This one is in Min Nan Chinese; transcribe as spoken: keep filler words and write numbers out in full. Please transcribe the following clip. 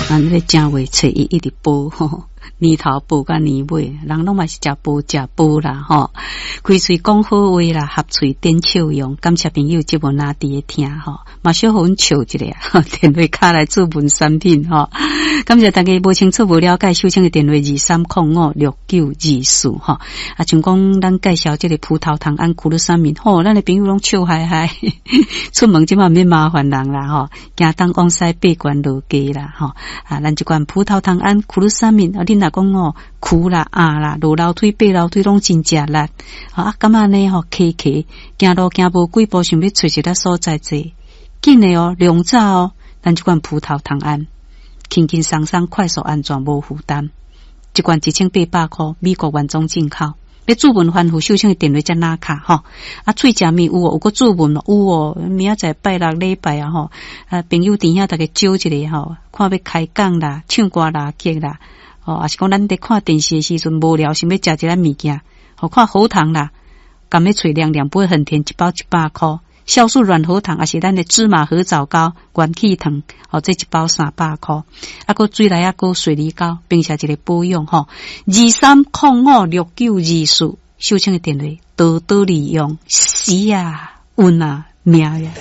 咱咧正月初一一直報吼，年頭報甲年尾，人攏嘛是食報食報啦吼。開喙講好話啦，合喙展笑容。感謝朋友節目拿佇咧聽吼，嘛小予阮笑一下，電話敲來注文產品吼。感謝大家無清楚無了解，秀清的電話二三空五六九二四吼。啊，像講咱介紹這個葡萄糖胺苦魯三明吼，咱的朋友攏笑嗨嗨，出門這馬免麻煩人啦吼，驚東往西爬懸落低啦吼。啊，咱這款葡萄糖胺苦魯三明啊，恁若講哦，跍啦、壓啦、落樓梯、爬樓梯攏真食力，啊，感覺呢吼，騎騎行路行無幾步，想欲揣一个所在坐，緊的哦，量早哦，咱這款葡萄糖胺，輕輕鬆鬆、快速、安全、無負擔，一罐一千八百箍，美國原裝進口。欲注文翻覆秀清的電話才拿卡吼，啊，喙食物有哦，有閣注文有哦，明仔載拜六禮拜啊吼，啊，朋友佇遐逐家招一下吼，看欲開講啦、唱歌啦、曲啦，吼，抑是講咱佇看電視的時陣無聊，想欲食一下物件，吼，看喉糖啦，含欲喙涼涼，不會很甜，一包一百箍。酵素軟喉糖，抑是咱的芝麻核棗糕、元氣糖，吼，這一包三百箍。啊，閣水來啊，閣水梨膏，並且一個保養吼，二三空五六九二四，秀清的電話，多多利用，是啊，運啊，命呀。